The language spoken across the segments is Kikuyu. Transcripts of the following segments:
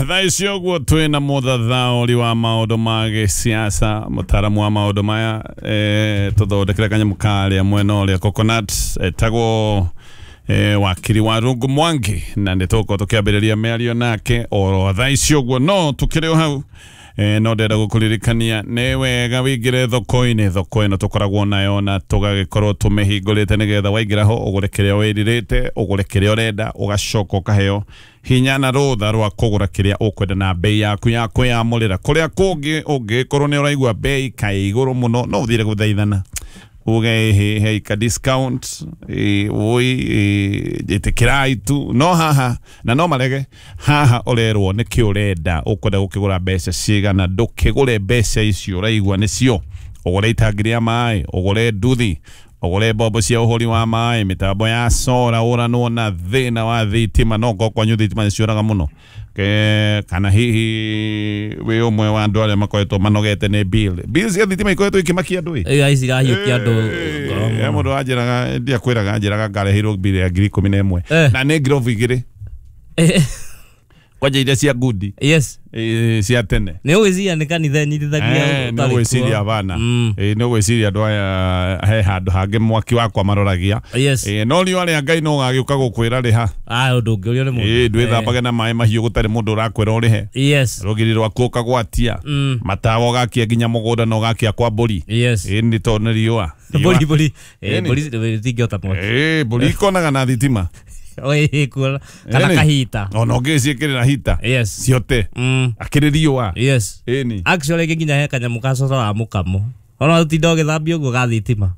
Thaa ici ũguo twĩna mũthathaũri wa maũndũ ma gĩsiasa, mũtaaramu wa maũndũ maya, tũthondekere kanyamũ karĩa mwena ũrĩa Coconut, etagwo wakiri wa Rungu Mwangi, na nĩ tũgũkorwo tũkĩambĩrĩria mĩario nake oro thaa ici ũguo, no tũkĩrĩ o hau. No ndĩrenda gũkũririkania nĩ wega wĩingĩre thoko-inĩ, thoko ĩno tũkoragwo nayo na tũgagĩkorwo tũmĩhingũrĩte nĩgetha waingĩra ho ũgũre kĩrĩa wĩrirĩte, ũgũre kĩrĩa ũrenda, ũgacoka ũkaheo hinya na rũtha rwa kũgũra kĩrĩa ũkwenda na bei yaku ya kwĩyamũrĩra. Kũrĩa kũngĩ ũngĩkorwo nĩ ũraigua bei kaĩ igũrũ mũno, no ũthire gũthaithana uge ĩhĩ hei ka discount, oi ĩtĩkĩrai tu, no haha na no marege haha ũrerwo nĩkĩ ũrenda, ũkwenda gũkĩgũra mbeca cigana, ndũkĩgũre mbeca icio ũraigua nĩcio, ũgũre itangi rĩa maĩ, ũgũre nduthi, ũgũre mbombo cia ũhũri wa maĩ, mĩtambo ya sora, ũranwo na thĩna wa thitima, no ngorwo kwanyu thitima nĩciũraga mũno. Kana hihi wĩ ũmwe wa andũ arĩa makoretwo manogete nĩ bill cia thitima ikoretwo ikĩmakia andũ ĩ. Ĩ, ici irahiũkia andũ ngoro He mũno. mũndũ wanjĩraga, ndiakwĩraga, anjĩraga ngareheirwo bill ya 11,000 na nĩ ngirobu 2 kwanja iria cia ngundi, Yes. Cia tene. Nĩ ũgwĩciria nĩ kanitha ĩnyitithagia Nĩ ũtarĩ ũgwĩciria kuo. bana. Nĩ ũgwĩciria andũ aya he handũ hangĩ mwaki wakwa maroragia. Yes. No riũa rĩa Ngai no ũgagĩũka gũkwĩra rĩha. Ah, ũndũ ũngĩ ũrĩa nĩ mũndũ. Ndwĩthambage na maĩ mahiũ gũtarĩ mũndũ ũrakwĩra ũrĩhe. Yes. Rũgiri rwaku ũkagwatia. Matawa ũgakia nginya mũgũnda na ũgakia kwa mbũri. Yes. Nĩ tondũ nĩ riũa. Mbũri mbũri. Ĩni. Mbũri itingĩhota mwaki. Mbũri ikonaga na thitima. Ĩ, kuona kana Ĩni. kahita. Ona ũngĩciĩkĩrĩra hita. Yes. Ciote. Akĩrĩ riũa. Yes. Ĩni. Actually nginya he kanyamũ ka coro wa mũkamo. Ona ũtinda ũgĩthambia ũguo ga thitima.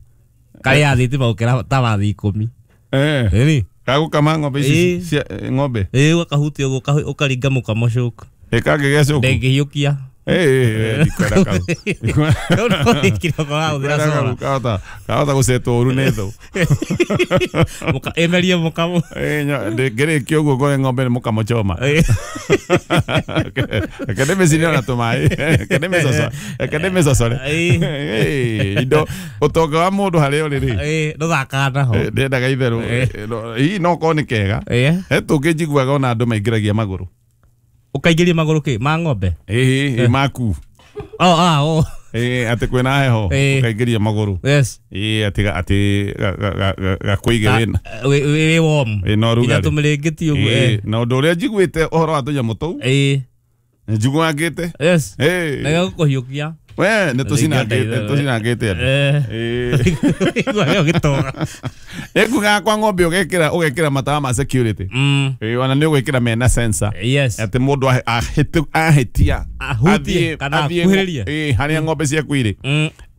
Karĩ ya thitima gũkĩra ta wa 10. Ĩni. Gagũkama ng'ombe ici cia ng'ombe. Ĩ, ũgakahutia ũguo ũkaringa mũkamo cũku. Ĩkangĩgĩa cũku. Ndĩngĩhiũkia. Ndikwenda kau. Kau nĩko wĩkire ũkorwo wahũthĩra Ndikwenda kau, solar. kahota gũcetwo ũru nĩ thũ. Ĩmerie mũkamo. Ndĩngĩrĩkia ũguo ngore ng'ombe nĩ mũkamo choma. Reke ndĩmĩcine ona tũmaĩ. Reke ndĩmĩcocore. Indo ũtonga wa mũndũ harĩa ũrĩ rĩ. Ndũthakaga naho. Ndendaga itherũ. Hihi no korwo nĩ kega. He tũngĩ njiguaga ona andũ maingĩragia magũrũ. Ũkaingĩria magũrũ kĩ? Ma ng'ombe? Ĩĩ, maku. Oh, ah, oh. Atĩ kwĩna heho, ũkaingĩria magũrũ. Yes. Atĩ atĩ gakũige wĩna. Wĩ warm. Wĩna Nginya ũrugarĩ. tũmĩrĩngĩti ũguo. Na ũndũ ũrĩa njiguĩte ũhoro wa tũnyamũ tũu. Njiguangĩte. Yes. Na gagũkũhiũkia. We, nĩ tũcinangĩte andũ. Igua gĩtoga. Ĩngugaga kwa ng'ombe ũgekĩra matawa ma security. Ona nĩ ũgwĩkĩra mena sensor. Yes. Atĩ mũndũ ahĩtia. Ahutie kana akuhĩrĩrie. Harĩa ng'ombe ciaku irĩ.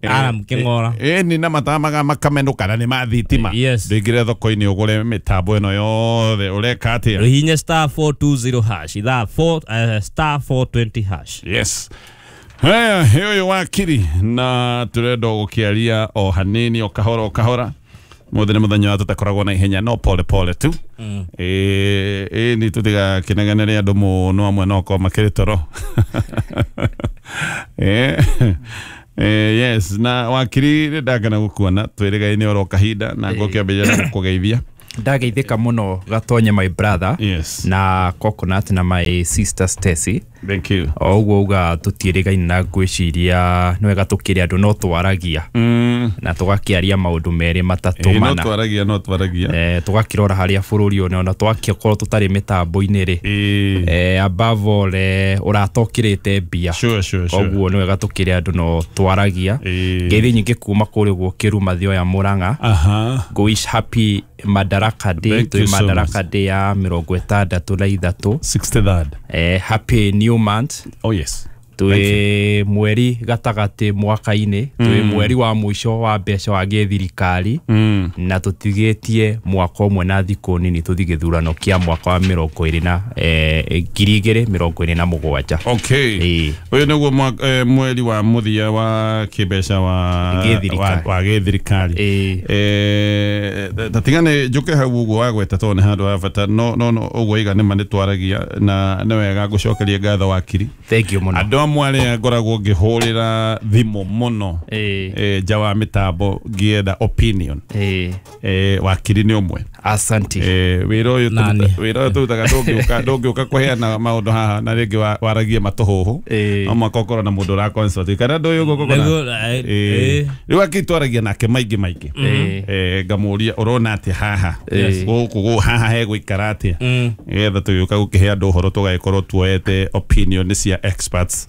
Aram kĩng'ora. Nĩ na matawa makamenũka na nĩ ma thitima. Yes. Ndũingĩre thoko-inĩ ũgũre mĩtambo ĩno yothe ũreka atĩa? Hihinya *420 hash. Ithaa 4, *420 hash. Yes. Haya, ũyũ wakiri na tũrenda gũkĩaria o hanini o kahora o kahora. Mũthĩ nĩ mũthenya wa tũtakoragwo na ihenya no pole pole tu. Nĩ tũtigakĩnegenere andũ mũno amwe no korwo makĩrĩ toro. Yes, na wakiri nĩ ndakena gũkuona twĩrĩgaine oro kahinda na ngũkĩambĩrĩria na gũkũgeithia. Ndageithĩka mũno Gatonye my brother. Yes. Na Coconut na my sister Stacy. Thank you. O ũguo uga tũtiĩrĩgaine na ngwĩciria nĩ wega tũkĩrĩ andũ no twaragia. Na tũgakĩaria maũndũ merĩ matatũ mana. No twaragia, no twaragia. Tũgakĩrora harĩa bũrũri ũyũ ona twakĩkorwo tũtarĩ mĩtambo-inĩ rĩ. Above all, ũratokĩrĩte mbia. Sure, sure, sure. Koguo nĩ wega tũkĩrĩ andũ no twaragia. Ngeithi nyingĩ kuma kũrĩa ũguo Kĩruma Thioya Mũrang'a. Go wish happy Madaraka Day, Thank you so Madaraka Day ya 63. 63rd. Happy new month. Oh yes. Twĩ mweri gatagatĩ mwaka-inĩ, twĩ mweri wa mũico wa mbeca wa gĩthirikari, na tũtigĩtie mwaka ũmwe na thikũ nini tũthiĩ gĩthurano kĩa mwaka wa 2027. Okay. Ũyũ nĩguo mweri wa mũthia wa kĩmbeca wa gĩthirikari. Tatigane njũke hau ũguo wagweta tondũ nĩ handũ ha bata, no no no ũguo iga nĩ ma nĩ twaragia na nĩ wega ngũcokerie ngatho wakiri. Thank you mũno. Andũ amwe arĩa ngoragwo ngĩhũrĩra thimũ mũno nja wa mĩtambo ngĩenda opinion, wakiri nĩ ũmwe. Asante. Wĩra ũyũ tũrutaga ndũngĩũka kũheana maũndũ haha na rĩngĩ waragie matũhũhũ. No mũhaka ũkorwo na mũndũ ũra consult kana ndũ ũyũ ũguo. Rĩu akĩtwaragia nake maingĩ maingĩ. Ngamũria ũrona atĩa haha gũkũ haha hegũikara atĩa nĩgetha tũgĩũka gũkĩhe andũ ũhoro tũgagĩkorwo tuoete opinion cia experts.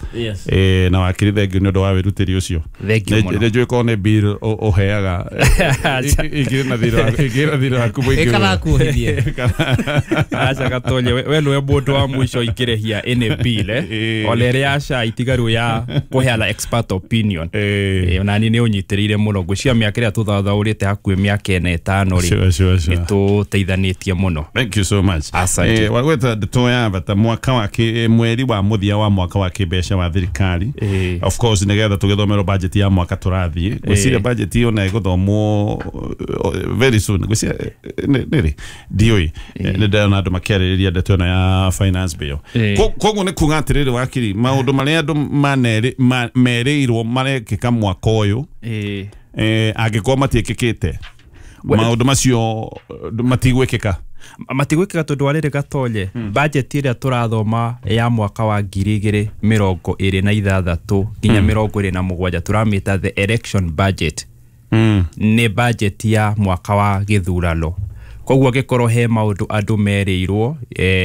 Na wakiri thengiũ nĩ ũndũ wa wĩrutĩri ũcio. Nĩ njũĩ korwo nĩ bill ũheaga ikĩrĩ na thirĩ waku mũingĩ. Kana kuhithie. Acha Gatonye we nĩwe mũndũ wa mũico ingĩrĩhia any bill ona ĩrĩa aca itigaru ya kũheana expert opinion. Ona niĩ nĩ ũnyitĩrĩire mũno ngwĩciria mĩaka ĩrĩa tũthathaũrĩte hakuhĩ mĩaka ĩna ĩtano rĩ nĩ tũteithanĩtie mũno. Thank you so much. Asante. Wagweta ndeto ya bata mwaka wa mweri wa mũthia wa mwaka wa kĩmbeca wa thirikari. Of course nĩgetha tũgĩthomerwo budget ya mwaka tũrathiĩ. Ngwĩciria budget ĩyo na ĩgũthomwo very soon. Ngwĩciria nĩrĩ ndiũĩ nĩ ndĩrona andũ makĩarĩrĩria ndeto ĩno ya finance bill. Koguo nĩ kuga atĩrĩrĩ wakiri maũndũ marĩa andũ merĩirwo marekĩka mwaka ũyũ angĩkorwo matiĩkĩkĩte maũndũ macio matigwĩkĩka. Matigwĩkĩka tondũ wa rĩrĩ Gatonye budget ĩrĩa tũrathoma ya mwaka wa 2026 nginya 2027 tũramĩta the election budget. Nĩ budget ya mwaka wa gĩthurano. Koguo angĩkorwo he maũndũ andũ merĩirwo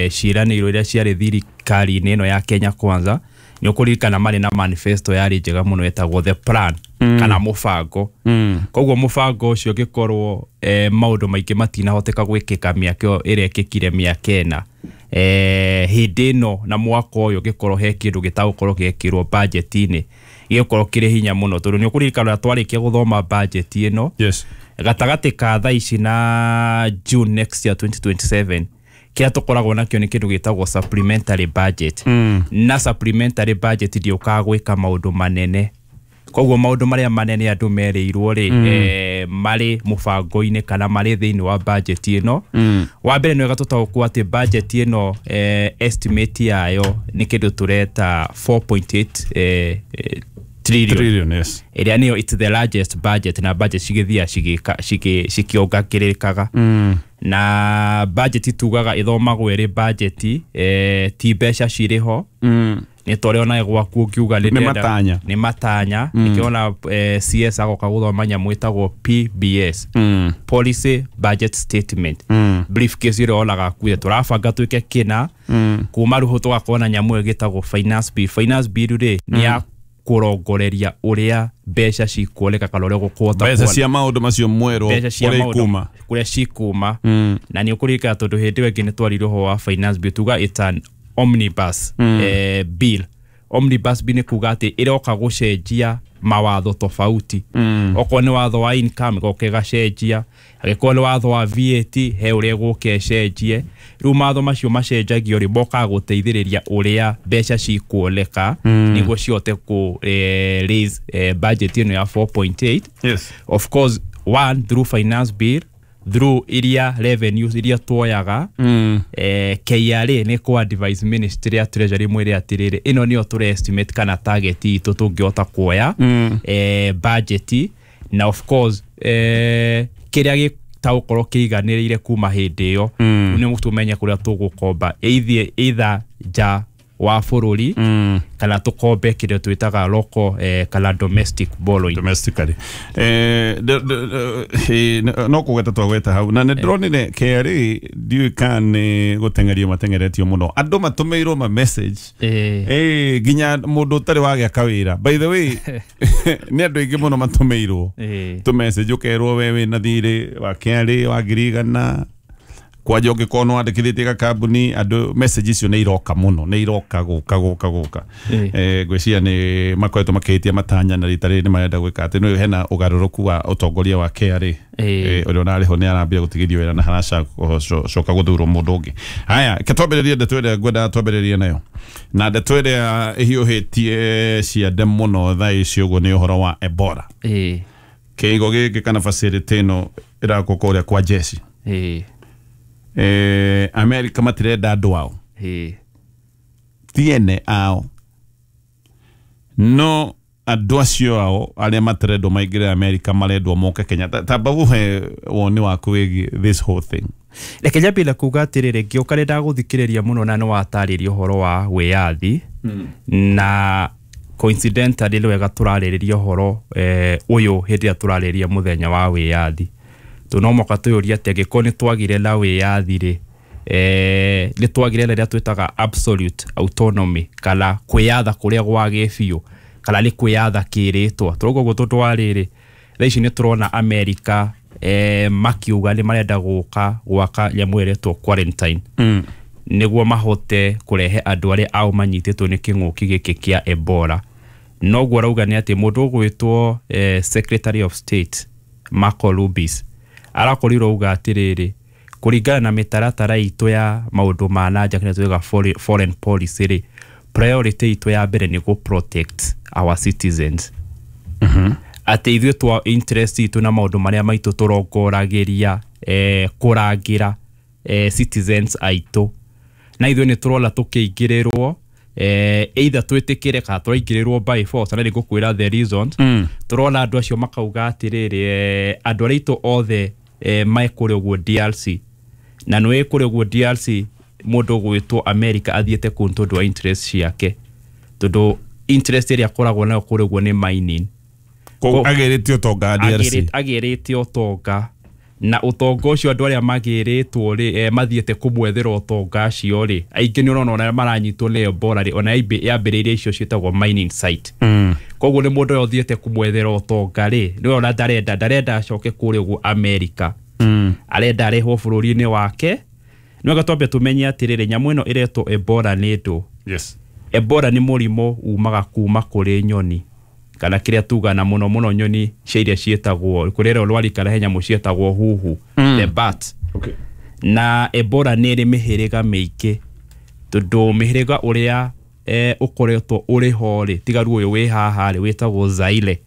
ciĩranĩirwo iria ciarĩ thirikari-inĩ ĩno ya Kenya Kwanza nĩ ũkũririkana marĩ na manifesto yarĩ njega mũno ĩtagwo the plan kana mũbango. Koguo mũbango ũcio ũngĩkorwo maũndũ maingĩ matinahoteka gwĩkĩka mĩaka ĩyo ĩrekĩkire mĩaka ĩna hĩndĩ ĩno na mwaka ũyũ ũngĩkorwo he kĩndũ gĩtagũkorwo gĩekĩrwo budget-inĩ gĩgũkorwo kĩrĩ hinya mũno tondũ nĩ ũkũririkana twarĩkia gũthoma budget ĩno. Yes. Gatagatĩ ka thaa ici na June next year 2027 kĩrĩa tũkoragwo nakĩo nĩ kĩndũ gĩtagwo supplementary budget. Na supplementary budget ndĩũkaga gwĩka maũndũ manene. Koguo maũndũ marĩa manene andũ merĩirwo rĩ marĩ mũbango-inĩ kana marĩ thĩinĩ wa budget ĩno. Wa mbere nĩ wega tũtaũkwo atĩ budget ĩno estimate yayo nĩ kĩndũ tũreta 4.8 trillion. Yes. Ĩrĩa nĩyo it's the largest budget na budget cigĩthia cikĩongagĩrĩkaga. Na budget tugaga ĩthomagwo ĩrĩ budget ti mbeca cirĩ ho. Nĩ ta ũrĩa onawe gwaku ũngiuga nĩ matanya. Nĩkĩo CS agoka gũthoma nyamũ ĩtagwo PBS, Policy Budget Statement. Briefcase ĩrĩa onaga akuire tũrabanga twĩke kĩna kuma rĩu tũgakorwo na nyamũ ĩyo ĩgĩtagwo finance bill. Finance bill rĩ nĩ ya kũrongoreria ũrĩa mbeca cikuoneka kana ũrĩa gũkũhota mbeca cia maũndũ macio mwerũ kũrĩa ikuma kũrĩa cikuma. Na nĩ ũkũririkana tondũ hĩndĩ ĩyo ĩngĩ nĩ twarire ũhoro wa finance bill tuga it's an omnibus bill. Omnibus bill nĩ kuga atĩ ĩroka gũcenjia mawatho tofauti. Okorwo nĩ watho wa income ĩgoka ĩgacenjia, angĩkorwo nĩ watho wa VAT he ũrĩa ĩgũka ĩcenjie. Rĩu mawatho macio macenjagio rĩ mokaga gũteithĩrĩria ũrĩa mbeca cikuoneka nĩguo cihote kũ raise budget ĩno ya 4.8. Yes. Of course one through finance bill through iria revenues iria tuoyaga. KRA nĩ kũ advise ministry ya treasury mwĩre atĩrĩrĩ ĩno nĩyo tũre estimate kana target itũ tũngĩhota kuoya budget. Na of course kĩrĩa gĩtagũkorwo kĩiganĩrĩire kuma hĩndĩ ĩyo nĩ tũmenye kũrĩa tũgũkomba either nja wa bũrũri kana tũkombe kĩrĩa twĩtaga local kana domestic borrowing. Domestically no kũgweta twagweta hau na nĩ ndĩronire KRA ndiũĩ kana nĩ gũteng'erio mateng'eretio mũno andũ matũmĩirwo ma message nginya mũndũ ũtarĩ wagĩa kawĩra. By the way nĩ andũ aingĩ mũno matũmĩirwo tũ message ũkerwo we wĩna thirĩ wa KRA wa 100,000 kwanja ũngĩkorwo nĩ wandĩkithĩtie gakambuni andũ message icio nĩ iroka mũno nĩ iroka gũka gũka gũka. Ngwĩciria nĩ makoretwo makĩhĩtia matanya na rita rĩrĩ nĩ marenda gwĩka atĩ nĩ hena ũgarũrũku wa ũtongoria wa KRA ũrĩa ũrarĩ ho nĩ arambia gũtigithio wĩra na haracoka gũthurwo mũndũ ũngĩ. Haya ke twambĩrĩrie ndeto ĩrĩa ngwendaga twambĩrĩrie nayo na ndeto ĩrĩa ĩhiũhĩtie ciande mũno thaa ici ũguo nĩ ũhoro wa Ebola. Kĩigo gĩkĩ kana facility ĩno ĩrakwo kũrĩa kwa jeshi. America matirenda andũ ao tiene ao no andũ acio ao arĩa matarendwo maingĩre America marendwo moke Kenya. Tamba ũhe woni waku wĩgiĩ this whole thing. Reke nyambie na kuga atĩrĩrĩ, ngĩũka nĩ ndagũthikĩrĩria mũno na nĩ watarĩria ũhoro wa wĩyathi na coincidentally nĩ wega tũrarĩrĩria ũhoro ũyũ hĩndĩ ĩrĩa tũrarĩrĩria mũthenya wa wĩyathi. Tondũ no mũhaka twĩyũrie atĩ angĩkorwo nĩ twagire na wĩyathi rĩ, nĩ twagire na rĩrĩa twĩtaga absolute autonomy kana kwĩyatha kũrĩa gwa gĩbiũ kana nĩ kwĩyatha kĩrĩtwa. Tũrauga ũguo tondũ wa rĩrĩ, thaa ici nĩ tũrona America makiuga nĩ marenda gũka gwaka nyamũ ĩretwo quarantine nĩguo mahote kũrehe andũ arĩa ao manyitĩtwo nĩ kĩng'ũki gĩkĩ kĩa Ebola. Noguo arauga nĩ atĩ mũndũ ũgwĩtwo Secretary of State Marco Rubio arakorirwo auga atĩrĩrĩ, kũringana na mĩtaratara itũ ya maũndũ ma na nja kĩrĩa twĩtaga foreign policy rĩ, priority itũ ya mbere nĩ gũ protect our citizens. Atĩ ithuĩ twa interest itũ na maũndũ marĩa maitũ tũrongoragĩria kũrangĩra citizens aitũ, na ithuĩ nĩ tũrona tũkĩingĩrĩrwo either twĩtĩkĩre kana tũraingĩrĩrwo by force, na nĩ ngũkwĩra the reasons. Tũrona andũ acio makauga atĩrĩrĩ, andũ arĩa aitũ othe me kũrĩa ũguo DRC, na nĩ kũrĩa ũguo DRC mũndũ ũgwĩtwo America athiĩte kũu tondũ wa interest ciake, tondũ interest ĩrĩa akoragwo nayo kũrĩa ũguo nĩ mining. Agĩrĩte ũtonga DRC, agĩrĩte ũtonga, na ũtonga ũcio andũ arĩa magĩrĩtwo rĩ mathiĩte kũmwethera ũtonga acio rĩ, aingĩ nĩ ũrona ona maranyitwo nĩ Ebola rĩ, ona yambĩrĩirie icio ciĩtagwo mining site. Koguo nĩ mũndũ ũrĩa ũthiĩte kũmwethera ũtonga rĩ, nĩwe ona ndarenda acoke kũrĩa ũguo America, arenda arehwo bũrũri-inĩ wake. Nĩ wega twambe tũmenye atĩrĩrĩ, nyamũ ĩno ĩretwo Ebola nĩ ndũ. Yes. Ebola nĩ mũrimũ umaga kuma kũrĩ nyoni, kana kĩrĩa tuga na mũno mũno nyoni cia iria ciĩtagwo kũrĩa rwarika he nyamũ ciĩtagwo huhu, the bat. Okay. Na Ebola nĩ ĩrĩ mĩhĩrĩga mĩingĩ, tondũ mĩhĩrĩga ũrĩa ũkoretwo ũrĩ ho rĩ, tiga rĩu ũyũ wĩ haha rĩ, wĩtagwo Zaire,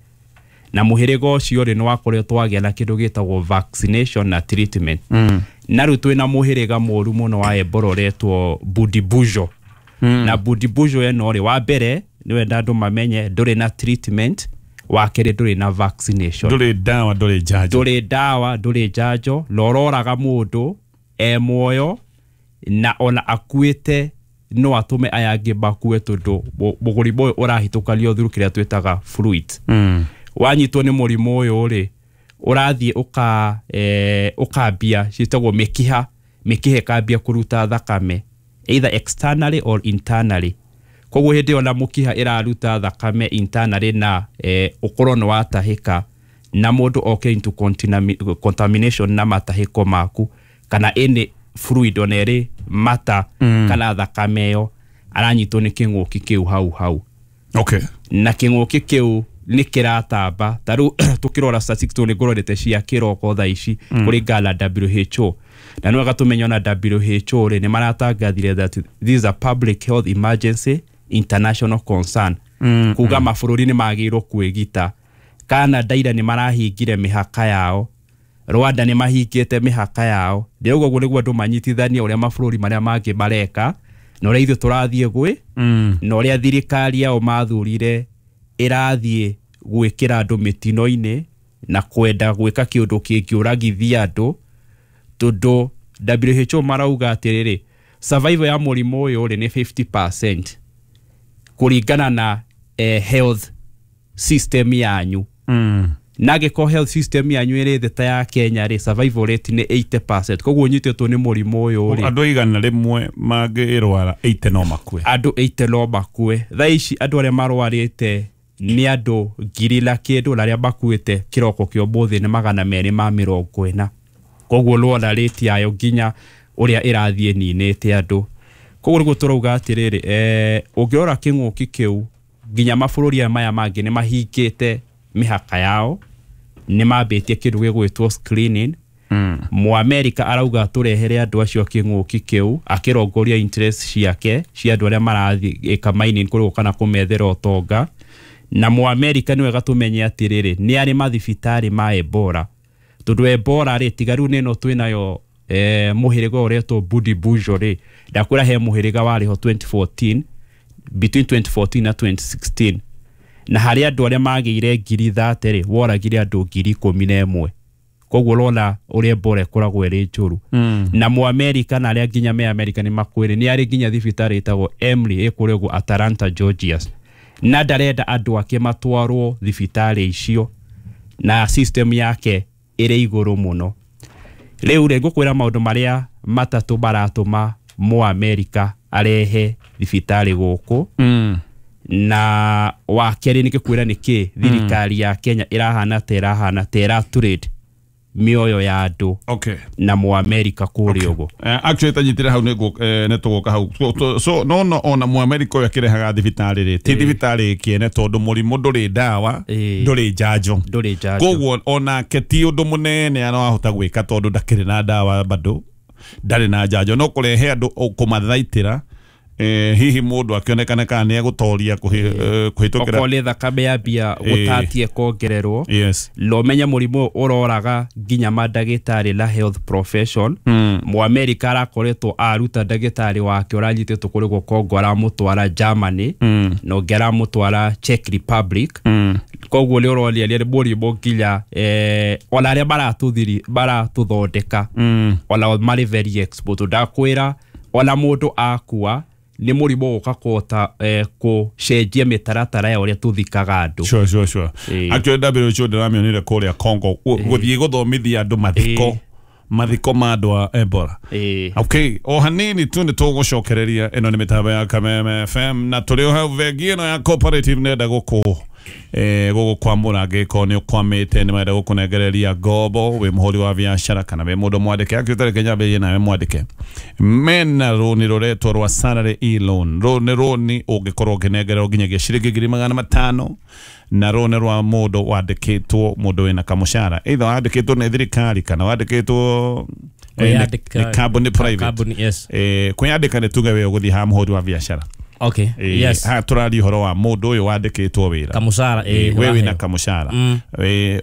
na mũhĩrĩga ũcio rĩ nĩ wakoretwo wagĩa na kĩndũ gĩtagwo vaccination na treatment. Na rĩu twĩna mũhĩrĩga mũru mũno wa Ebola ũretwo Budibujo. Na Budibujo ĩno rĩ, wa mbere nĩ wenda andũ mamenye ndũrĩ na treatment, wa kerĩ ndũrĩ na vaccination, ndũrĩ ndawa, ndũrĩ njanjo, ndũrĩ ndawa, ndũrĩ njanjo, na ũroraga mũndũ e muoyo na ona akuĩte no atũme aya angĩ makue, tondũ mũrimũ ũyũ ũrahĩtũkanio through kĩrĩa twĩtaga fluid. Wanyitwo nĩ mũrimũ ũyũ rĩ, ũrathiĩ ũkambia ciĩtagwo mĩkiha, mĩkiha ĩkambia kũruta thakame either externally or internally. Koguo hĩndĩ ĩyo na mũkiha ĩraruta thakame internally na ũkorwo nĩ watahĩka na mũndũ oke into contamination na matahĩko maku kana any fluid ona ĩrĩ mata kana thakame ĩyo, aranyitwo nĩ kĩng'ũki kĩu hau hau. Okay. Na kĩng'ũki kĩu nĩ kĩratamba. Ta rĩu tũkĩrora statistics nĩ ngũrorete cia kĩroko thaa ici kũringana na WHO, na nĩ wega tũmenye ona WHO rĩ nĩ maratangathire that this is a public health emergency international concern, kuga mabũrũri nĩ magĩrĩirwo kwĩgita. Canada ira nĩ marahingire mĩhaka yao, Rwanda nĩ mahingĩte mĩhaka yao. Ndĩrauga ũguo nĩguo andũ manyitithanie ũrĩa mabũrũri marĩa mangĩ mareka na ũrĩa ithuĩ tũrathiĩ gwĩ na ũrĩa thirikari yao mathurire ĩrathiĩ gwĩkĩra andũ mĩtino-inĩ na kwenda gwĩka kĩũndũ kĩngĩũragithia andũ, tondũ WHO marauga atĩrĩrĩ, survival ya mũrimũ ũyũ rĩ nĩ 50% kũringana na health system yanyu. Na angĩkorwo health system yanyu ĩrĩ thĩ ta ya Kenya rĩ, survival rate nĩ 80%. Koguo ũnyitĩtwo nĩ mũrimũ ũyũ rĩ, andũ 100 mangĩrwara 80 no makue, andũ 80 no makue. Thaa ici andũ arĩa marwarĩte nĩ andũ 1,000 na kĩndũ, na arĩa makuĩte kĩroko kĩa ũmũthĩ nĩ 240. Koguo rwona rate yayo nginya ũrĩa ĩrathiĩ ĩninĩte andũ. Koguo nĩguo tũrauga atĩrĩrĩ, ũngĩrora kĩng'ũki kĩu nginya mabũrũri maya mangĩ nĩ mahingĩte mĩhaka yao, nĩ mambĩtie kĩndũ gĩgwĩtwo screening. Mũamerika arauga tũrehere andũ acio kĩng'ũki kĩu, akĩrongoria interest ciake cia andũ arĩa marathiĩ ĩka mining kũrĩa kana kũmethera ũtonga. Na Mũamerika nĩ wega tũmenye atĩrĩrĩ, nĩ arĩ mathibitarĩ ma Ebola, tondũ Ebola rĩ, tiga rĩu nĩ ĩno twĩnayo mũhĩrĩga ũretwo Budibujo rĩ, ndakwĩra he mũhĩrĩga warĩ ho 2014, between 2014 na 2016, Na harĩ andũ arĩa magĩire 30,000 rĩ, woragire andũ 11,000. Koguo ũrona ũrĩa Ebola ĩkoragwo ĩrĩ njũru. Na Mũamerika na arĩa nginya me Amerika nĩ makwĩrĩ nĩ arĩ nginya thibitarĩ ĩtagwo Emory ĩkũrĩa ũguo Atlanta, Georgia, na ndarenda andũ ake matwarwo thibitarĩ icio, na system yake ĩrĩ igũrũ mũno. Rĩu rĩ, ngũkwĩra maũndũ marĩa matatũ maratũma Mũamerika arehe thibitarĩ gũkũ. Na wa kerĩ nĩ ngĩkwĩra nĩkĩ thirikari ya Kenya ĩrahana ta ĩratrade mĩoyo ya andũ na Mũamerika kũrĩa ũguo. Actually tanyitire hau nĩ tũgũka hau. So no ona Mũamerika ũyũ akĩrehaga thibitarĩ rĩ, ti thibitarĩ kĩene tondũ mũrimũ ndũrĩ ndawa, ndũrĩ njanjo. Koguo onake ti ũndũ mũnene arahota gwĩka tondũ ndakĩrĩ na ndawa bado, ndarĩ na njanjo, no kũrehe andũ kũmathaitĩra. Hihi mũndũ akĩonekana kana nĩ egũtoria kũhĩtũkĩra okorwo nĩ thakame yambia gũtatie kuongererwo. Yes. Lo menye mũrimũ ũroraga nginya mandagĩtarĩ na health profession. Mũamerika arakoretwo aruta ndagĩtarĩ wake ũranyitĩtwo kũrĩ Congo aramũtwara Germany, na ũngĩ aramũtwara Czech Republic. Koguo nĩ ũronia nĩ mũrimũ nginya ona arĩa maratũthondeka ona marĩ very exposed. Ndakwĩra ona mũndũ akua nĩ mũrimũ gũka kũhota kũcenjia mĩtaratara ya ũrĩa tũthikaga andũ. Sure. Actually WHO ndĩramĩonire kũrĩa Congo gũthiĩ gũthomithia andũ mathiko ma andũ a Ebola. Okay, o hanini tu nĩ tũgũcokereria. Ĩno nĩ mĩtambo ya Kameme FM na tũrĩ o hau bengi ĩno ya Cooperative nenda gũkũ gũgũkwamũra angĩkorwo nĩ ũkwamĩte nĩ marenda gũkũnengereria ngombo wĩ mũhũri wa biacara kana wĩ mũndũ mwandĩke. Actually tareke nyambĩrĩrie nawe mwandĩke. Mena rũni rũretwo rwa salary e-loan. Rũũ nĩ rũni ũngĩkorwo ũkĩnengererwo nginyagia ciringi 500,000, na rũni rwa mũndũ wandĩkĩtwo, mũndũ wĩna kamũcara, either wandĩkĩtwo nĩ thirikari kana wandĩkĩtwo nĩ kambuni private. Yes. Kwĩyandĩka nĩ tuge we ũgũthiĩ ha mũhũri wa biacara. Okay. Yes. Ha tũraria ũhoro wa mũndũ ũyũ wandĩkĩtwo wĩra. Kamũcara, we wĩna kamũcara.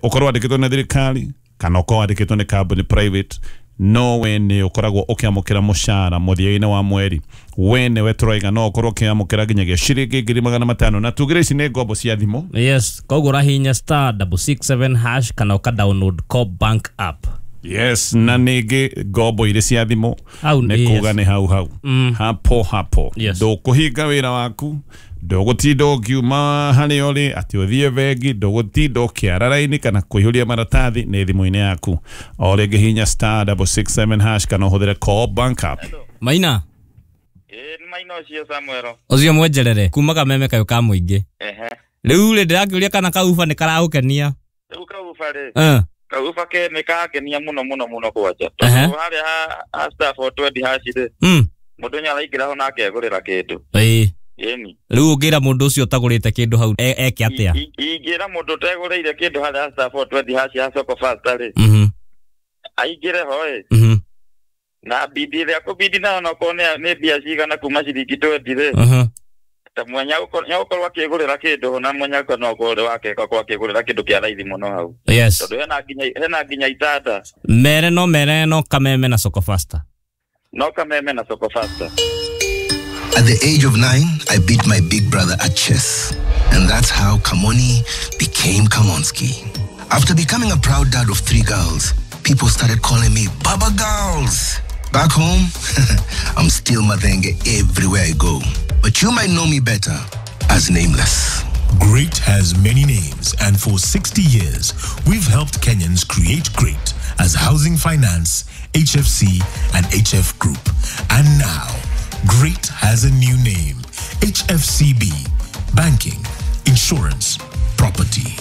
Ũkorwo wandĩkĩtwo nĩ thirikari kana ũkorwo wandĩkĩtwo nĩ kambuni private, no we nĩ ũkoragwo ũkĩamũkĩra mũcara mũthia-inĩ wa mweri. We nĩwe tũraiga no ũkorwo ũkĩamũkĩra nginyagia ciringi 500,000, na tugire ici nĩ ngombo cia thimũ. Yes, koguo ũrahihinya *667# kana ũka download Co Bank app. Yes, na ningĩ ngombo irĩ cia thimũ nĩ kuga nĩ hau hau. Hapo hapo. Ndũkũhinga wĩra waku, ndũgũtinda ũkiuma harĩa ũrĩ atĩ ũthiĩ bengi, ndũgũtinda ũkĩara raini kana kũihũria maratathi, nĩ thimũ-inĩ yaku. O rĩngĩ hinya *667# kana ũhũthĩre Co Bank app. Maina. Nĩ Maina ũcio Samuel. Ũcio mwenjerere kuma Kameme kayũ ka mũingĩ. Rĩu rĩ, ndĩrakĩũria kana kauba nĩ karagũkenia. Rĩu kauba rĩ. Kauba ke nĩ karakenia mũno mũno mũno kwanja. Tondũ harĩa ha *420# rĩ, mũndũ nĩ araingĩra ho na akegũrĩra kĩndũ. Ĩni. Rĩu ũngĩra mũndũ ũcio ũtagũrĩte kĩndũ hau eke atĩa? Ingĩra mũndũ ũtegũrĩire kĩndũ harĩa *420# ha Soko Fasta rĩ, aingĩre ho ĩ, na bidi ĩrĩa kũbidi nayo onokorwo nĩ mbia cigana kuma ciringi 20 rĩ, ta mwenya nĩagũkorwo akĩgũrĩra kĩndũ, na mwenya no akorwo wake akorwo akĩgũrĩra kĩndũ kĩa raithi mũno hau. Yes. Tondũ hena nginya itanda. Mere no Kameme na Soko Fasta. No Kameme na Soko Fasta. At the age of 9, I beat my big brother at chess. And that's how Kamoni became Kamonski. After becoming a proud dad of 3 girls, people started calling me Baba Girls. Back home, I'm still Mathenge everywhere I go. But you might know me better as Nameless. Great has many names, and for 60 years, we've helped Kenyans create great as Housing Finance, HFC, and HF Group. And now, Great has a new name, HFCB, Banking, Insurance, Property.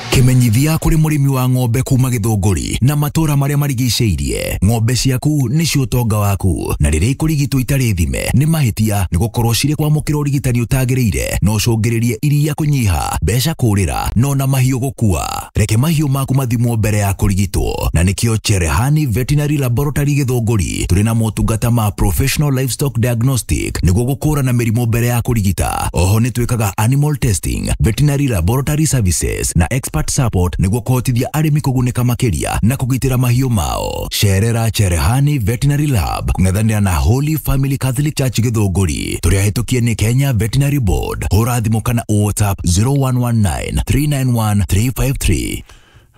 Kimenyithia kuri murimi wa ng'ombe kuma Githunguri na matura maria marigicĩirie. Ng'ombe ciaku nĩcio ũtonga waku, na rĩrĩa ikũrigitwo itarĩ thime nĩ mahĩtia, nĩ gũkorwo cirĩ kwamũkĩra ũrigitani ũtagĩrĩire no ũcũngĩrĩrie iria kũnyiha, mbeca kũrĩra, no na mahiũ gũkua. Reke mahiũ maku mathimwo mbere ya kũrigitwo, na nĩkĩo Cherehani Veterinary Laboratory Githunguri tũrĩ na motungata ma professional livestock diagnostic nĩguo gũkũrana mĩrimũ mbere ya kũrigita. Oho nĩ twĩkaga animal testing, veterinary laboratory services na expert Expert support nĩguo kũhotithia arĩmi kũgunĩka makĩria na kũgitĩra mahiũ mao. Cerera Cherehani Veterinary Lab kũng'ethanĩra na Holy Family Catholic Church Gĩthũngũri. Tũrĩ ahĩtũkie nĩ Kenya Veterinary Board. Hũra thimũ kana WhatsApp 0119 391 353.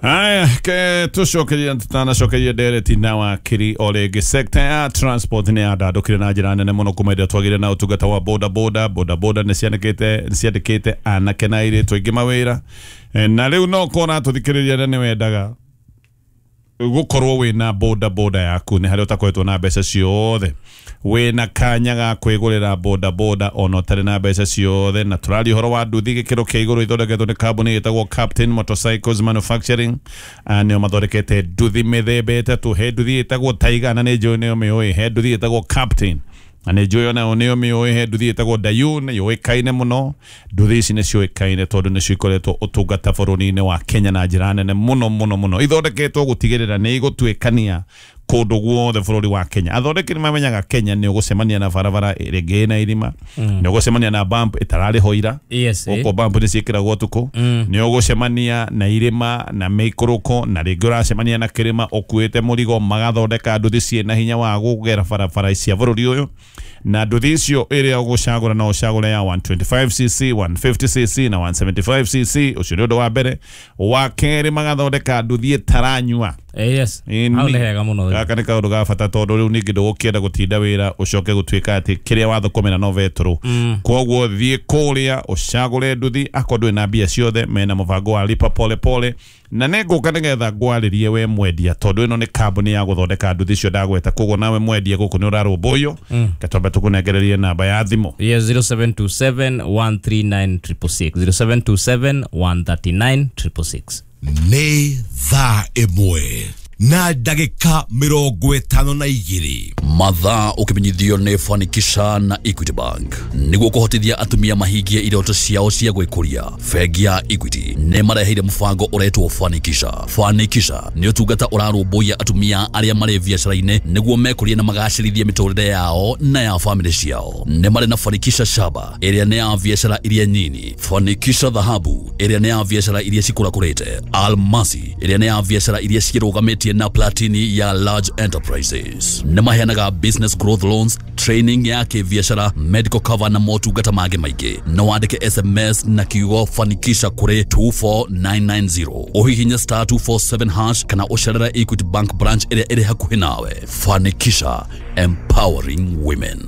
Haya, ke tucokerie tutanacokerie ndereti na wakiri o rĩngĩ. Sector ya transport nĩ yandandũkire na njĩra nene mũno kuma ĩrĩa twagĩire na ũtungata wa boda boda. Boda boda nĩ ciandĩkĩte anake na airĩtu aingĩ mawĩra, na rĩu no kona tũthikĩrĩria na nĩ wendaga gukorwo wina boda boda yaku ni haria utakoretwo na mbeca ciothe, wina kanya ga kwigurira boda boda ona utari na mbeca ciothe. Na turaria uhoro wa nduthi gikiro kia iguru ithondeketwo ni kambuni itagwo Captain Motorcycles Manufacturing, nio mathondekete nduthi mithemba itatu. He nduthi itagwo Tiger na ni njũĩ nĩyo mĩũĩ, he nduthi itagwo Captain na nĩ njũĩ onayo nĩyo mĩũĩ, he nduthi ĩtagwo Dayun yũĩkaine mũno. Nduthi ici nĩ ciũĩkaine tondũ nĩcio ikoretwo ũtungata bũrũri-inĩ wa Kenya na njĩra nene mũno mũno mũno. Ithondeketwo gũtigĩrĩra nĩ igũtuĩkania kũndũ guothe bũrũri wa Kenya. Athondeki nĩ mamenyaga Kenya nĩ ũgũcemania na barabara ĩrĩ na irima, nĩ ũgũcemania na bump ĩtararĩ ho ira, gũkũ bump nĩ ciĩkĩragwo ũtukũ, nĩ ũgũcemania na irĩma na mĩikũrũko, na rĩngĩ ũracemania na kĩrĩma ũkuĩte mũrigo. Magathondeka nduthi ciĩ na hinya wa gũgera barabara cia bũrũri ũyũ, na nduthi icio ĩrĩa ũgũcagũra no ũcagũre ya 125cc, 150cc na 175cc. Ũcio nĩ ũndũ wa mbere. Wa kerĩ, magathondeka nduthi ĩtaranyua. Yes. Hau nĩ hega mũno. Gaka nĩ kaũndũ ga bata tondũ rĩu ningĩ ndũgũkĩenda gũtinda wĩra ũcoke gũtuĩka atĩ kĩrĩa wathũkũmĩra no betũrũ. Koguo thiĩ kũrĩa ũcagũre nduthi akorwo ndũrĩ na mbia ciothe, mena mũbango wa lipa pole pole. Na nĩ ngũka nĩgetha ngwarĩrie we mwendia, tondũ ĩno nĩ kambuni ya gũthondeka nduthi icio ndagweta. Koguo nawe mwendia gũkũ nĩ ũrarũmbũiyo. Katwambe tũkũnengererie namba ya thimũ. Yes, 0727 139 666, 0727 139 666. Nĩ thaa 1 na ndagĩka 52. Mathaa ũkĩmenyithio nĩ Fanikisha na Equity Bank nĩguo kũhotithia atumia mahingie iroto ciao cia gwĩkũria. Bengi ya Equity nĩ mareheire mũbango ũretwo Fanikisha. Fanikisha nĩ ũtungata ũrarũmbũiya atumia arĩa marĩ biacara-inĩ nĩguo mekũrie na magacĩrithie mĩtũrĩre yao na ya famĩlĩ ciao. Nĩ marĩ na Fanikisha Shaba ĩrĩa nĩ ya biacara iria nyini, Fanikisha Dhahabu ĩrĩa nĩ ya biacara iria cikũrakũrĩte, Almasi ĩrĩa nĩ ya biacara iria cirũgamĩtie na Platini ya large enterprises. Nĩ maheanaga business growth loans, training ya kĩbiacara, medical cover na motungata mangĩ maingĩ. No wandĩke SMS na kiugo Fanikisha kũrĩ 24990, ũhihinye star 247 hash kana ũcerere Equity Bank branch ĩrĩa ĩrĩ hakuhĩ nawe. Fanikisha, empowering women.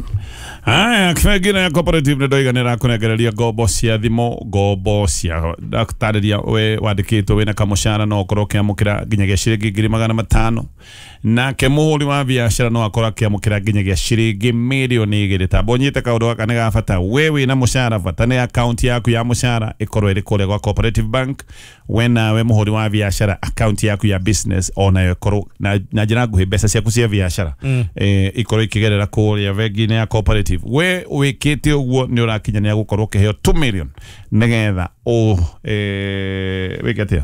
Haya, bengi ya Cooperative nĩ ndoiga nĩ ĩrakũnengereria ngombo cia thimũ, ngombo cia ndatarĩria we wandĩkĩtwo wĩna kamũcara no ũkorwo ũkĩamũkĩra nginyagia ciringi 500,000, nake mũhũri wa biacara no akorwo akĩamũkĩra nginyagia ciringi 2,000,000. Tamba ũnyite kaũndũ gaka nĩ ga bata. We wĩna mũcara, bata nĩ akaunti yaku ya mũcara ĩkorwo ĩrĩ kũrĩa gwa Cooperative Bank. We nawe mũhũri wa biacara, akaunti yaku ya business onayo ĩkorwo na njĩra nguhĩ, mbeca ciaku cia biacara ikorwo ikĩgerera kũrĩa bengi-inĩ ya Cooperative. We wĩkĩte ũguo nĩ ũrakinyanĩra gũkorwo ũkĩheo 2 million nĩgetha wĩke atĩa,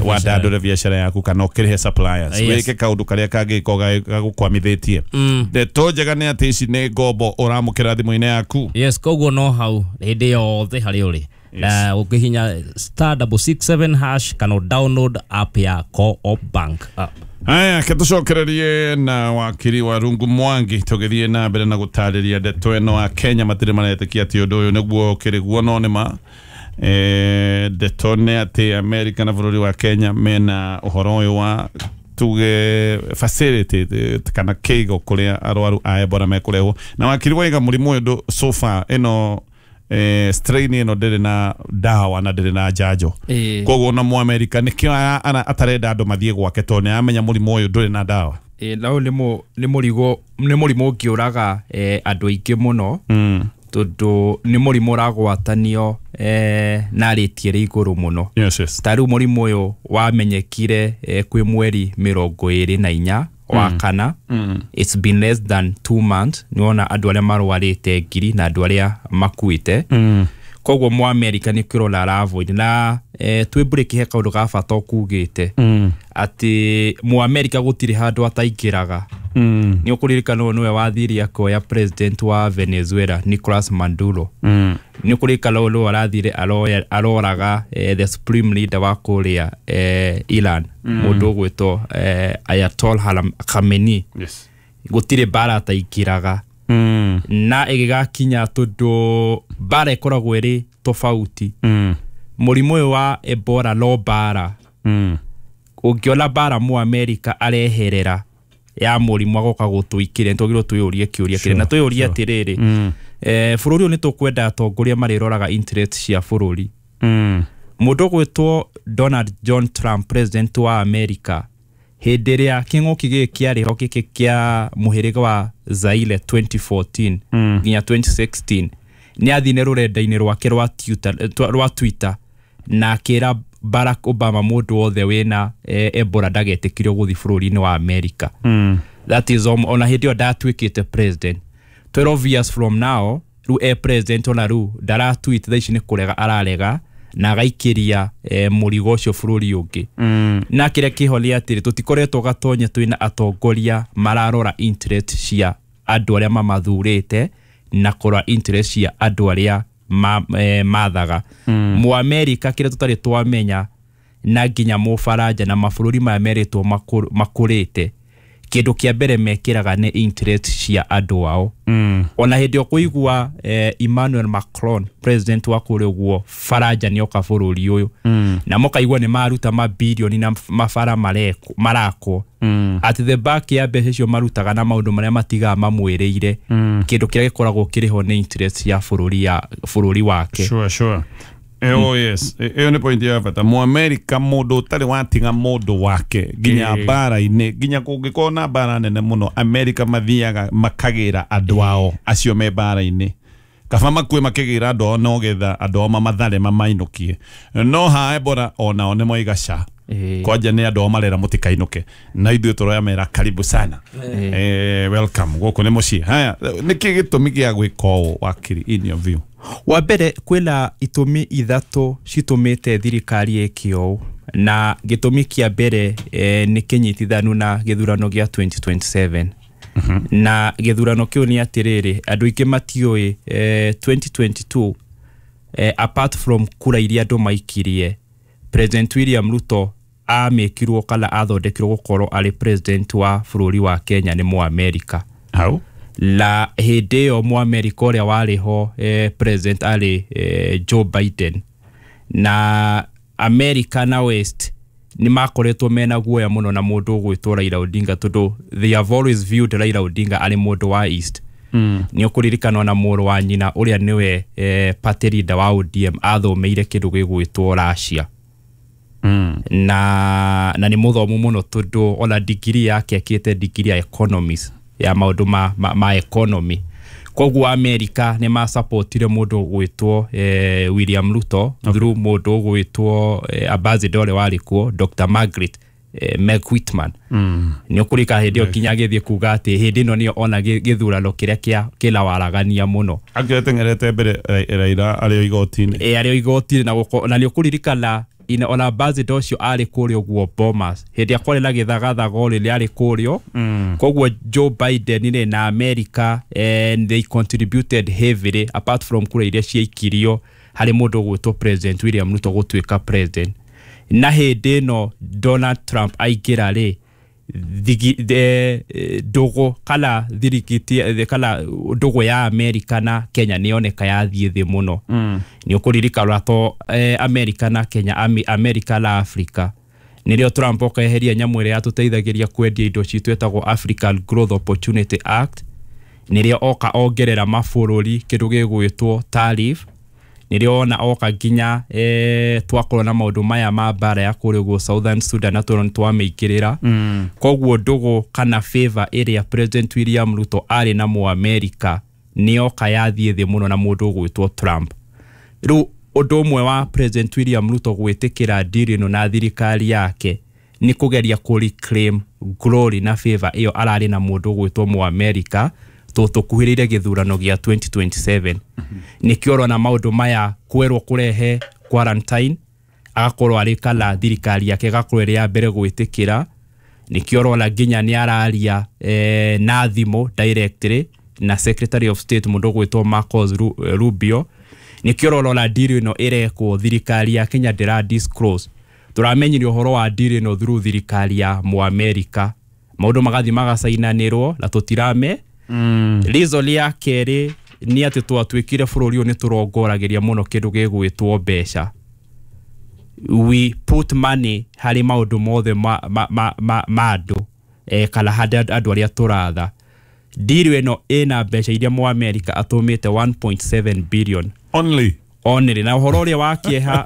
wandandũre biacara yaku kana ũkĩrĩhe suppliers, wĩke kaũndũ karĩa kangĩkorwo gagũkwamithĩtie. Ndeto njega nĩ atĩ ici nĩ ngombo ũramũkĩra thimũ-inĩ yaku. Yes, koguo no hau hĩndĩ yothe harĩa ũrĩ na ũkĩhinya star 667 hash kana download app ya Co-op Bank app. Haya, ketucokererie na wakiri wa Rungu Mwangi tũgĩthiĩ na mbere na gũtarĩria ndeto ĩno. A Kenya matirĩ maretĩkia atĩ ũndũ ũyũ nĩguo ũkĩrĩ guo, no nĩ ma. Ndeto nĩ atĩ America na bũrũri wa Kenya mena ũhoro ũyũ wa tuge facility kana kĩigo kũrĩa arwaru a Ebola mekũrehwo. Na wakiri waiga mũrimũ ũyũ so far ĩno strain ĩno ndĩrĩ na ndawa na ndĩrĩ na njanjo. Koguo na Mũamerika nĩkĩo atarenda andũ mathiĩ gwake tondũ nĩaramenya mũrimũ ũyũ ndũrĩ na ndawa. Nao nĩ mũrimũ ũngĩũraga andũ aingĩ mũno, tondũ nĩ mũrimũ ũragwatanio na rĩti ĩrĩ igũrũ mũno. Yes. Ta rĩu mũrimũ ũyũ wamenyekire kwĩ mweri 24 wa kana. It's been less than 2 months. Nĩwona andũ arĩa marwarĩte 1,000 na andũ arĩa makuĩte. Koguo mu America nĩ kĩrora aravoid na twĩ break he kaũndũ ga bata ũkugĩte atĩ mu America gũtirĩ handũ ataingĩraga. Nĩ ũkũririkana ũyũ nĩwe wathire akoya president wa Venezuela Nicolas Maduro. Nĩ ũkũririkana ũyũ nĩwe arathire aroraga the supreme leader wa kũrĩa Iran, mũndũ ũgwĩtwo Ayatollah Khamenei. Yes. Gũtirĩ mbara ataingĩraga. Na ĩgĩgakinya tondũ mbara ĩkoragwo ĩrĩ tofauti. Mũrimũ ũyũ wa Ebola no mbara. Ũngĩona mbara mu America areherera ya mũrimũ agoka gũtũikĩria, nĩtwagĩrĩirwo twĩyũrie kĩũria kĩrĩa na twĩyũrie atĩrĩrĩ, bũrũri ũyũ nĩtũkwenda atongoria marĩroraga interest cia bũrũri. Mũndũ ũgwĩtwo Donald John Trump, president wa America, hĩndĩ ĩrĩa kĩng'ũki gĩkĩ kĩarĩ ho gĩkĩ kĩa mũhĩrĩga wa Zaire 2014 nginya 2016, nĩ athire rũrenda-inĩ rwake rwa Twitter na akĩra Barack Obama mũndũ wothe wĩna Ebola ndagetĩkĩrio gũthiĩ bũrũri-inĩ wa America. That is ona hĩndĩ ĩyo ndatuĩkĩte president. 12 years from now rĩu e president, ona rĩu ndaratweet thaa ici nĩ kũrega ararega na agaikĩria mũrigo ũcio bũrũri ũngĩ. Na kĩrĩa kĩho nĩ atĩrĩ, tũtikoretwo gatonye twĩna atongoria mararora interest cia andũ arĩa mamathurĩte na kũrora interest cia andũ arĩa mathaga. Mu America kĩrĩa tũtarĩ twamenya na nginya Mũbaranja na mabũrũri maya merĩtwo makũrĩte, kĩndũ kĩa mbere mekĩraga nĩ interest cia andũ ao. Ona hĩndĩ ĩyo kũigua Emmanuel Macron, president wa kũrĩa ũguo Faranja, nĩoka bũrũri ũyũ, na mũkaigua nĩ maruta mabirioni na mabara marakwo. At the back ya mbeca icio marutaga na maũndũ marĩa matigaga mamwĩrĩire, kĩndũ kĩrĩa gĩkoragwo kĩrĩ ho nĩ interest ya bũrũri wake. Sure. Oh yes, ĩyo nĩ point ya bata. Mu America mũndũ ũtarĩ watiga mũndũ wake nginya mbara-inĩ, nginya kũngĩkorwo na mbara nene mũno, America mathiaga makagĩra andũ ao acio me mbara-inĩ. Kaba makue makĩgĩra andũ ao no getha andũ ao mamathare mamainũkie. No ha Ebola onao nĩ moiga ca. Kwanja nĩ andũ ao marera mũtikainũke. Na ithuĩ tũroya mera karibu sana. Welcome gũkũ nĩ mũciĩ. Haya, nĩkĩ gĩtũmi gĩa gwĩka ũũ wakiri in your view? Wa mbere kwĩna itũmi ithatũ citũmĩte thirikari ĩke ũũ, na gĩtũmi kĩa mbere nĩ kĩnyitithanu na gĩthurano gĩa 2027. Na gĩthurano kĩu nĩ atĩrĩrĩ, andũ aingĩ matiũĩ 2022 apart from kura iria andũ maikirie, President William Ruto amĩkirwo kana athondekirwo gũkorwo arĩ president wa bũrũri wa Kenya nĩ Mũamerika. Hau? La hĩndĩ ĩyo Mũamerika ũrĩa warĩ ho president arĩ Joe Biden, na America na West nĩ makoretwo mena guoya mũno na mũndũ ũgwĩtwo Raila Odinga, tondũ they have always viewed Raila Odinga arĩ mũndũ wa East. Nĩ ũkũririkana na mũrũ wa nyina ũrĩa nĩwe party leader wa ODM athomeire kĩndũ gĩgwĩtwo Russia. Na nĩ mũthomu mũno tondũ ona degree yake akĩte degree ya economics, ya maũndũ ma economy. Koguo America nĩ masupportire mũndũ ũgwĩtwo William Ruto through mũndũ ũgwĩtwo ambassador ũrĩa warĩ kuo Dr. Margaret Meg Whitman. Nĩ ũkũrika hĩndĩ ĩyo nginya agĩthiĩ kuga atĩ hĩndĩ ĩno nĩyo ona gĩthurano kĩrĩa kĩna waragania mũno. Akĩreteng'erete mbere Raila arĩ o igoti-inĩ. Arĩ o igoti-inĩ, na nĩ ũkũririkana ona ambassador ũcio arĩ kũrĩa ũguo Bomas hĩndĩ ĩrĩa kwarĩ na gĩthagathago rĩrĩa arĩ kũrĩa. Koguo Joe Biden rĩ na America they contributed heavily apart from kura iria ciaikirio harĩ mũndũ ũgwĩtwo President William Ruto gũtuĩka president. Na hĩndĩ ĩno Donald Trump aingĩra rĩ, ndũgũ kana thirikiti kana ndũgũ ya America na Kenya nĩ yoneka yathiĩ thĩ mũno. Nĩ ũkũririkana to America na Kenya, America na Africa, nĩrĩo Trump okeheria nyamũ ĩrĩa yatũteithagĩria kwendia indo citũ ĩtagwo African Growth Opportunity Act, nĩrĩo oka ongerera mabũrũri kĩndũ gĩgwĩtwo tariff, nĩrĩo ona oka nginya twakorwo na maũndũ maya ma mbara ya kũrĩa ũguo Southern Sudan na tũrona twamĩingĩrĩra. Koguo ndũgũ kana favor ĩrĩa President William Ruto arĩ na Mũamerika nĩyoka yathiĩ thĩ mũno na mũndũ ũgwĩtwo Trump. Rĩu ũndũ ũmwe wa President William Ruto gwĩtĩkĩra deal ĩno na thirikari yake nĩ kũgeria kũ reclaim glory na favor ĩyo ararĩ na mũndũ ũgwĩtwo Mũamerika, Tũkuhĩrĩire gĩthurano gĩa 2027. Nĩkĩo ũrona maũndũ maya kwerwo kũrehe quarantine agakorwo arĩ kana thirikari yake ĩgakorwo ĩrĩ ya mbere gwĩtĩkĩra. Nĩkĩo ũrona nginya nĩ araria na thimũ directly na Secretary of State mũndũ ũgwĩtwo Marcos Rubio. Nĩkĩo ũrona deal ĩno ĩrekwo thirikari ya Kenya ndĩra disclose. Tũramenyire ũhoro wa deal ĩno through thirikari ya Mũamerika. Maũndũ magathiĩ magacainanĩrwo na tũtirame. Reason ya kerĩ nĩ atĩ twatuĩkire bũrũri ũyũ nĩ tũrongoragĩria mũno kĩndũ gĩgwĩtwo mbeca. We put money harĩ maũndũ mothe ma andũ kana harĩ andũ arĩa tũratha. Deal ĩno ĩna mbeca iria Mũamerika atũmĩte 1.7 billion. Only. Only. Na ũhoro ũrĩa wa kĩeha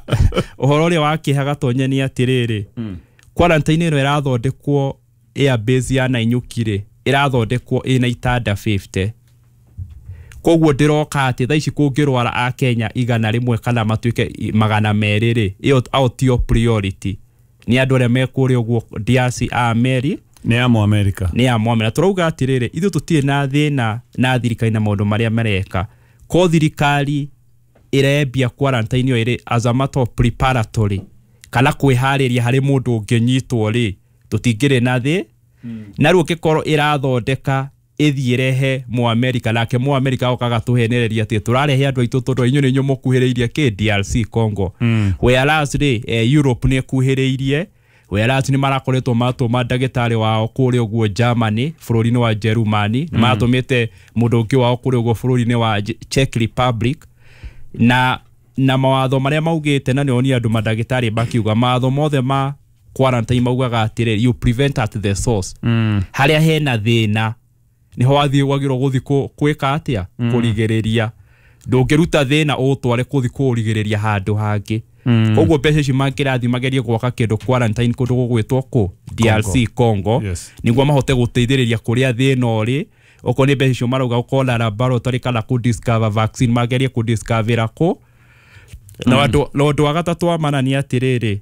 ũhoro ũrĩa wa kĩeha Gatonye nĩ atĩrĩrĩ, quarantine ĩno ĩrathondekwo airbase ya Nanyuki rĩ, ĩrathondekwo ĩna itanda 50. Koguo ndĩroka atĩ thaa ici kũngĩrwara a Kenya 100 kana matuĩke 200 rĩ, ĩyo ao tio priority. Nĩ andũ arĩa me kũrĩa ũguo DRC a Ameri nĩ a Mũamerika. Nĩ a Mũamerika. Tũrauga atĩrĩrĩ, ithuĩ tũtirĩ na thĩna na thirikari na maũndũ marĩa mareka. Ko thirikari ĩrembia quarantine ĩyo ĩrĩ as a matter of preparatory kana kwĩharĩria harĩ mũndũ ũngĩnyitwo rĩ, tũtingĩrĩ na thĩ. Na rĩu ũngĩkorwo ĩrathondeka ĩthiĩ ĩrehe Mũamerika nake Mũamerika okaga tũhenereria atĩ tũrarehe andũ aitũ tondũ inyuĩ nĩ inyuĩ mũkuhĩrĩirie kĩ DRC Congo. Whereas rĩ, Europe nĩ ĩkuhĩrĩirie. Whereas nĩ marakoretwo matũma ndagĩtarĩ wao kũrĩa ũguo Germany, bũrũri-inĩ wa Jerumani, nĩ matũmĩte mũndũ ũngĩ wao kũrĩa ũguo bũrũri-inĩ wa Czech Republic. Na mawatho marĩa maugĩte na nĩonia andũ mandagĩtarĩ makiuga mawatho mothe ma quarantine maugaga atĩrĩ, you prevent at the source. Harĩa hena thĩna niho wathiĩ wagĩrĩirwo gũthiĩ kwĩka atĩa, kũrigĩrĩria. Ndũngĩruta thĩna ũtware kũthiĩ kũrigĩrĩria handũ hangĩ. Koguo mbeca ici mangĩrathiĩ magerie gwaka kĩndũ quarantine kũndũ gũgwĩtwo kũ DRC Congo, nĩguo mahote gũteithĩrĩria kũrĩa thĩna ũrĩ. Okorwo nĩ mbeca icio marauga gũkorwo laboratory kana kũ discover vaccine magerie kũ discover kũ. Na ũndũ wa gatatũ wa mana nĩ atĩrĩrĩ,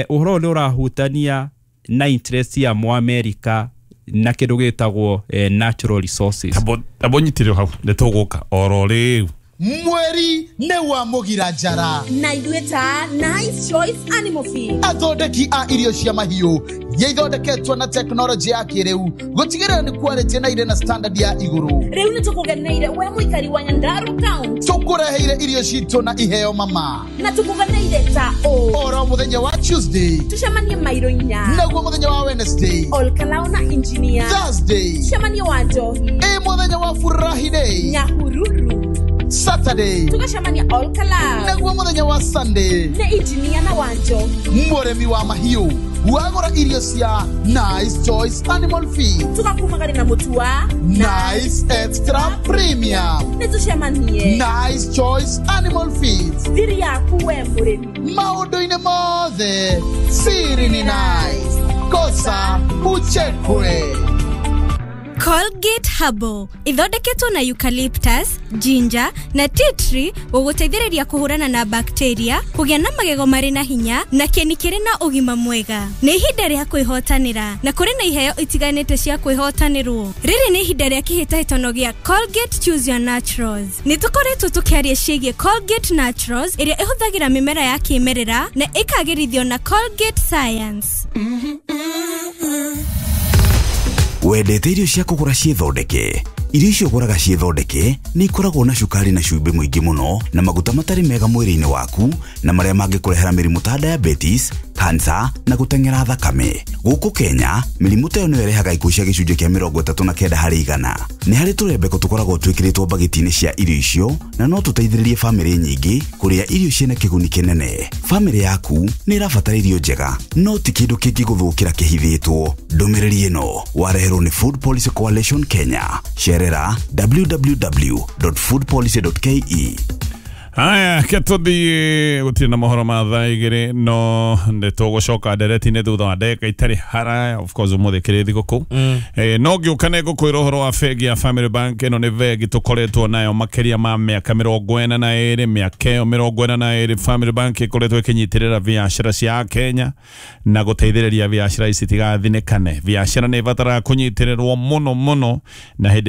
ũhoro ũyũ nĩ ũrahutania na interest ya Mũamerika na kĩndũ gĩtagwo natural resources. Tabo nyitire hau nĩ tũgũka oro rĩu. Mweri nĩ wa mũgira njara na ithuĩ ta Nice Choice Animal Feed, athondeki a irio cia mahiũ iria ithondeketwo na tekinoronjĩ ya kĩrĩu gũtigĩrĩra nĩ quality na irĩ na standard ya igũrũ. Rĩu nĩ tũkũgeneire we mũikari wa Nyandarua County, tũkũreheire irio citũ na iheo mama, na tũkũgeneire ta ũ oro mũthenya wa Tuesday tũcemanie mairo inya, naguo mũthenya wa Wednesday Olkalao na engineer, Thursday tũcemanie wa Njohi, ĩ mũthenya wa Furahi Day Nyahururu, Saturday tũgacemania Olkalao, naguo mũthenya wa Sunday nĩ engineer na wa Njohi. Mũrĩmi wa mahiũ wagũra irio cia Nice Choice Animal Feed tũgakumagari na mũtu wa Nice Extra Premium. Nĩ tũcemanie Nice Choice Animal Feed, thiri yaku we mũrĩmi maũndũ-inĩ mothe siri ni nice, kosa uchekwe. Colgate Herbal ithondeketwo na eucalyptus, ginger na tea tree gũgũteithĩrĩria kũhũrana na bacteria, kũgĩa na magego marĩ na hinya na kĩni kĩrĩ na ũgima mwega. Nĩ ihinda rĩa kwĩhotanĩra na kũrĩ na iheo itiganĩte cia kwĩhotanĩrwo. Rĩrĩ nĩ ihinda rĩa kĩhĩtahĩtano gĩa Colgate Choose Your Naturals. Nĩ tũkoretwo tũkĩaria ciĩgiĩ Colgate Naturals ĩrĩa ĩhũthagĩra mĩmera ya kĩmerera na ĩkagĩrithio na Colgate Science. Wendete irio cia kũgũra ciĩthondeke? Irio icio ũgũraga ciĩthondeke nĩ ikoragwo na cukari na cumbĩ mũingĩ mũno na maguta matarĩ mega mwĩrĩ-inĩ waku na marĩa mangĩkũrehera mĩrimũ ta diabetes, cancer na gũteng'era thakame. Gũkũ Kenya, mĩrimũ ta ĩyo nĩyo ĩrehaga ikuũ cia gĩcunjĩ kĩa 39 harĩ igana. Nĩ harĩ tũrembeko tũkoragwo twĩkĩrĩtwo mbagiti-inĩ cia irio icio na no tũteithĩrĩrie bamĩrĩ nyingĩ kũrĩa irio ciĩna kĩguni kĩnene. Bamĩrĩ yaku nĩ ĩrabatara irio njega, no ti kĩndũ kĩngĩgũthũkĩra kĩhithĩtwo. Ndũmĩrĩri ĩno wareherwo nĩ Food Policy Coalition Kenya. Cerera www.foodpolicy.ke. Aya, ketũthiĩ gũtirĩ na mohoro ma thaa igĩrĩ no nĩ tũgũcoka ndereti-inĩ thutha wa ndagĩka itarĩ haraya. Of course ũmũthĩ kĩrĩ thigũkũ. No ngĩũka nĩ ngũkwĩra ũhoro wa bengi ya Family Bank. Ĩno nĩ bengi tũkoretwo nayo makĩria ma mĩaka 42, mĩaka ĩyo 42 Family Bank ĩkoretwo ĩkĩnyitĩrĩra biacara cia Kenya na gũteithĩrĩria biacara ici itigathinĩkane. Biacara nĩ ĩbataraga kũnyitĩrĩrwo mũno mũno na hĩndĩ